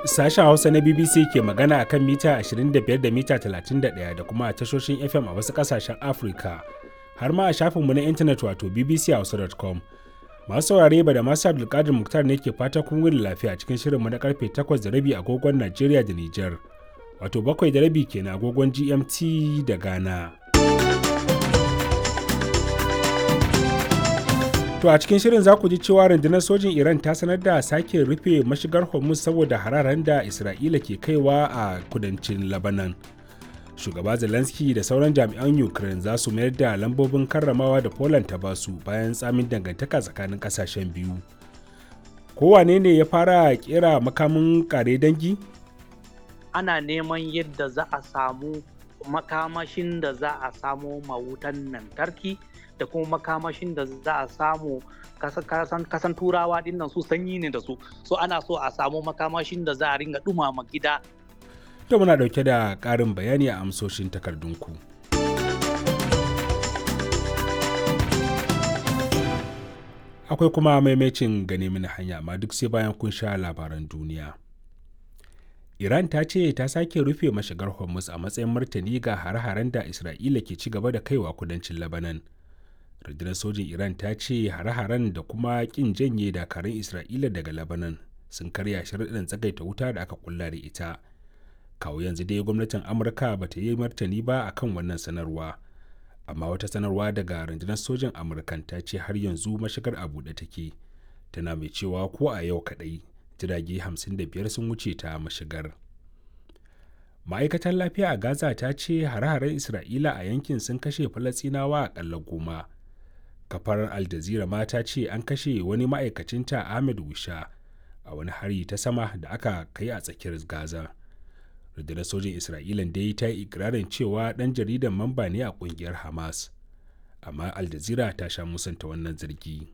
Sashen Hausa na BBC ke magana akan mita 25 da mita 31 da kuma a tashoshin FM a wasu ƙasashen Afirka, har ma a shafinmu na intanet wato bbchausa.com. Masu saurare ba da masu Abdulkadir Muktar ne ke fata kun wuni lafiya cikin shirinmu na karfe 8:30 agogon Najeriya da Nijar, wato 7:30 kenan agogon GMT da Ghana. To a cikin shirin za ku ji cewa rundunar sojin Iran ta sanar da sake rufe mashigar Hormuz saboda hararen da Isra'ila ke kaiwa a kudancin Lebanon. Shugaba Zelensky da sauran jami'an Ukraine za su mayar da lambobin karramawa da Poland ta basu bayan tsamin dangantaka tsakanin kasashen biyu. Kowane ne ya fara kera makamin kare dangi? Ana neman yadda za a samu makamashin da za a samo mawutan lantarki da kuma makamashin da za a samu kasan turawa dinnan su sanyi ne da su, so ana so a samu makamashin da za a ringa dumama gida. To muna dauke da ƙarin bayani a amsoshin takardunku. Akwai kuma maimacin gane mini hanya, amma duk sai bayan kun sha labaran duniya. Iran ta ce ta sake rufe mashigar Hormuz a matsayin martani ga hare-haren da Isra'ila ke ci gaba da kaiwa kudancin Lebanon. Rundunar sojin Iran ta ce hare-haren da kuma kin janye dakarun Isra'ila daga Lebanon sun karya sharuɗan tsagaita wuta da aka kulla da ita. Kawo yanzu dai gwamnatin Amurka ba ta yi martani ba akan wannan sanarwa. Amma wata sanarwa daga rundunar sojin Amurkan ta ce har yanzu mashigar a buɗe take. Tana mai cewa ko a yau kaɗai jirage 55 sun wuce ta mashigar. Ma'aikatar lafiya a Gaza ta ce hare-haren Isra'ila a yankin sun kashe Falasɗinawa aƙalla 10. Kafar Al Jazeera ma ta ce an kashe wani ma'aikacinta Ahmed Wisha a wani hari ta sama da aka kai a tsakiyar Gaza. Rundunar sojin Isra'ilan dai ta yi ikirarin cewa ɗan jaridan mamba ne a ƙungiyar Hamas. Amma Al Jazeera ta sha musanta wannan zargi.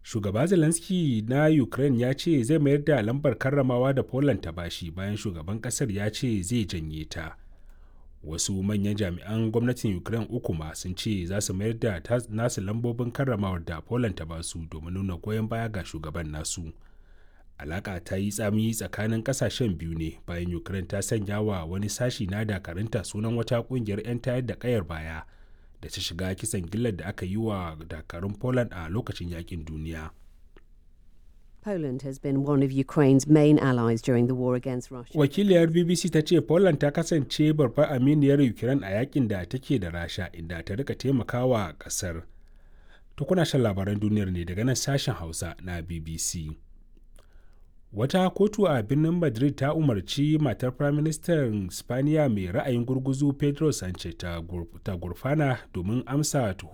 Shugaba Zelensky na Ukraine ya ce zai mayar da lambar karramawa da Poland ta bashi bayan shugaban kasar ya ce zai janye ta. Wasu manyan jami'an gwamnatin Ukraine uku ma sun ce za su mayar da nasu lambobin karramawar da Poland ta basu domin nuna goyon baya ga shugaban nasu. Alaka ta yi tsami tsakanin kasashen biyu ne bayan Ukraine ta sanya wa wani sashi na dakarunta sunan wata kungiyar 'yan tayar da kayar baya da ta shiga kisan gillar da aka yi wa dakarun Poland a lokacin yakin duniya. Poland has been one of Ukraine's main allies during the war against Russia. Wakiliyar BBC ta ce Poland ta kasance babbar aminiyar Ukraine a yakin da take da Rasha, inda ta rika taimakawa kasar. To kuna shan labaran duniyar ne daga nan sashen Hausa na BBC. Wata kotu a birnin Madrid ta umarci matar Firaministan Spaniya mai ra'ayin gurguzu Pedro Sanchez ta gurfana domin amsa tuhumar.